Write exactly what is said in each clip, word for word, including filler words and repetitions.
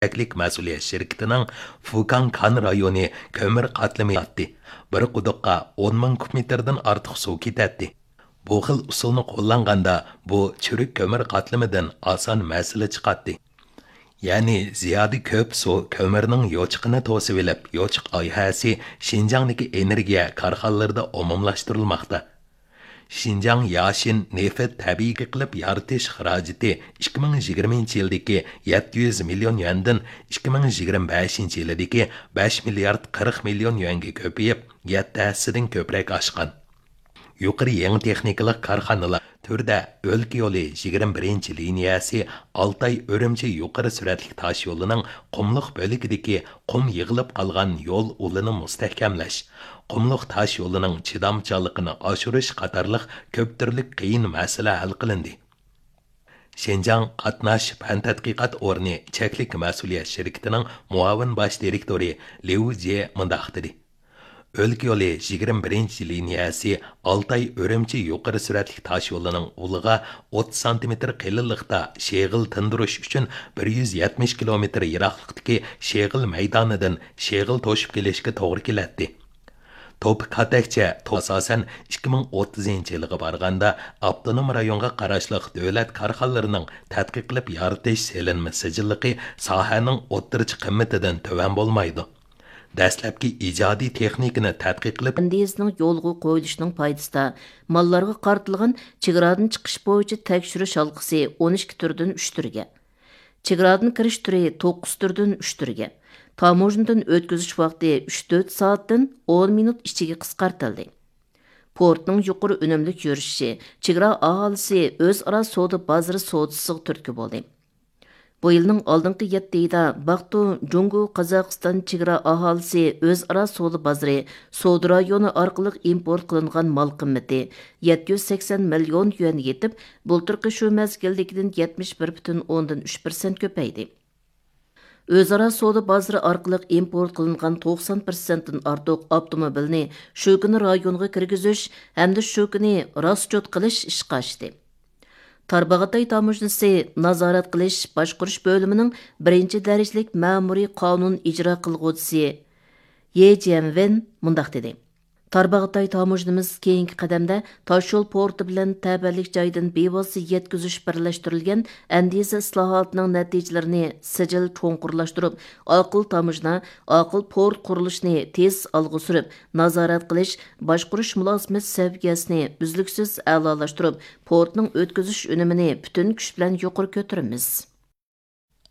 چەكلىك مەسئۇلىيەت شىركىتىنىڭ فۇكاڭ كان رايونى كۆمۈر قاتلىمى ياتتى. بىر قۇدۇققا ئون مىڭ كۇب مېتىردىن ئارتۇق سۇ كېتەتتى. بۇ خىل ئۇسۇلنى قوللانغاندا، بۇ چۈرۈك كۆمۈر قاتلىمىدىن ئاسان مەسىلە چىقاتتى. يەنى زىيادە كۆپ سۇ كۆمۈرنىڭ يوچۇقىنى توسۇۋېلىپ، يوچۇق ئايھەسى شىنجاڭدىكى ئېنېرگىيە كارخانىلىرىدا ئومۇملاشتۇرۇلماقتا. شىنجاڭ ياشىن نېفىت تەبىئىي قىلىپ يارىتىش خىراجىتى ئىككى مىڭ يىگىرمىنچى يىلدىكى يەتتە يۈز مىليون يۈەندىن ئىككى مىڭ يىگىرمە بەشىنچى يىلىدىكى بەش مىليارد قىرىق مىليون يۈەنگە كۆپىيىپ، يەتتە ھەسسىدىن كۆپرەك ئاشقان. يۇقىرى يېڭى تېخنىكىلىق كارخانىلار تۈردە ئۆلكە يولى يىگىرمە بىرىنچى لىنىيەسى ئالتاي ئۈرۈمچى يۇقىرى سۈرئەتلىك تاش يولىنىڭ قۇملۇق بۆلىكىدىكى قۇم يىغىلىپ قالغان يول ئۇلىنى مۇستەھكەملەش، قۇملۇق تاش يولىنىڭ چىدامچانلىقىنى ئاشۇرۇش قاتارلىق كۆپ تۈرلۈك قىيىن مەسىلە ھەل قىلىندى. شىنجاڭ قاتناش پەن تەتقىقات ئورنى چەكلىك مەسئۇلىيەت شىركىتىنىڭ مۇئاۋىن باش دىرېكتورى ليۇ جيې مۇنداق دېدى: ئۆلكە يولى يىگىرمە بىرىنچى لىنىيەسى ئالتاي ئۈرۈمچى يۇقىرى سۈرئەتلىك تاش يولىنىڭ ئۇلىغا ئوتتۇز سانتىمېتىر قېلىنلىقتا شېغىل تىندۇرۇش ئۈچۈن بىر يۈز يەتمىش كىلومېتىر يىراقلىقتىكى شېغىل مەيدانىدىن شېغىل توشۇپ كېلىشكە توغرا كېلەتتى. توپا كاتەكچە توپا ئاساسەن ئىككى مىڭ ئوتتۇزىنچى يىلغا بارغاندا، ئاپتونوم رايونغا قاراشلىق دۆلەت كارخانىلىرىنىڭ تەتقىق قىلىپ يارىتىش سېلىنما سىجىللىقى ساھەنىڭ ئوتتۇرىچە قىممىتىدىن تۆۋەن بولمايدۇ. دەسلەپكى ئىجادىي تېخنىكىنى تەتقىق قىلىپ، ئەندىزىنىڭ يولغا قويۇلۇشىنىڭ پايدىسىدا ماللارغا قارىتىلغان چېگرادىن چىقىش بويىچە تەكشۈرۈش ھالقىسى ئون ئىككى تۈردىن ئۈچ تۈرگە، چېگرادىن كىرىش تۈرى توققۇز تۈردىن ئۈچ تۈرگە، تاموژنىدىن ئۆتكۈزۈش ۋاقتى ئۈچ تۆت سائەتتىن ئون مىنۇت ئىچىگە قىسقارتىلدى. پورتنىڭ يۇقىرى ئۈنۈملۈك يۈرۈشۈشى چېگرا ئاھالىسى ئۆزئارا سودا بازىرى سودىسىغا تۈرتكە بولدى. بۇ يىلنىڭ ئالدىنقى يەتتە ئېيىدا باقتۇ جۇڭگو قازاقىستان چېگرا ئاھالىسى ئۆزئارا سودا بازىرى سودا رايونى ئارقىلىق ئىمپورت قىلىنغان مال قىممىتى يەتتە يۈز سەكسەن مىليون يۈەنگە يېتىپ، بۇلتۇرقى شۇ مەزگىلدىكىدىن يەتمىش بىر پۈتۈن ئوندىن ئۈچ پىرسەنت كۆپەيدى. ئۆزئارا سودا بازىرى ئارقىلىق ئىمپورت قىلىنغان توقسان پىرسەنتتىن ئارتۇق ئاپتوموبىلنى شۇ كۈنى رايونغا كىرگۈزۈش ھەمدە شۇ كۈنى راسچوت قىلىش ئىشقا ئاشتى. تارباغاتاي تاموژنىسى نازارەت قىلىش باشقۇرۇش بۆلۈمىنىڭ بىرىنچى دەرىجىلىك مەمۇرىي قانۇن ئىجرا قىلغۇچىسى يې جيەنۋېن مۇنداق دېدى: تارباغاتاي تاموژنىمىز كېيىنكى قەدەمدە تاشيول پورتى بىلەن تەۋەلىك جايدىن بىۋاسىتە يەتكۈزۈش بىرلەشتۈرۈلگەن ئەندىزە ئىسلاھاتىنىڭ نەتىجىلىرىنى سىجىل چوڭقۇرلاشتۇرۇپ، ئاقىل تاموژنا، ئاقىل پورت قۇرۇلۇشىنى تېز ئالغا سۈرۈپ، نازارەت قىلىش، باشقۇرۇش مۇلازىمەت سەۋىيەسىنى ئۈزلۈكسىز ئەلالاشتۇرۇپ، پورتنىڭ ئۆتكۈزۈش ئۈنۈمىنى پۈتۈن كۈچ بىلەن يۇقىرى كۆتۈرىمىز.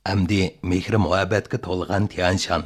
ئەمدى مېھرى مۇھەببەتكە تولغان تيەنشان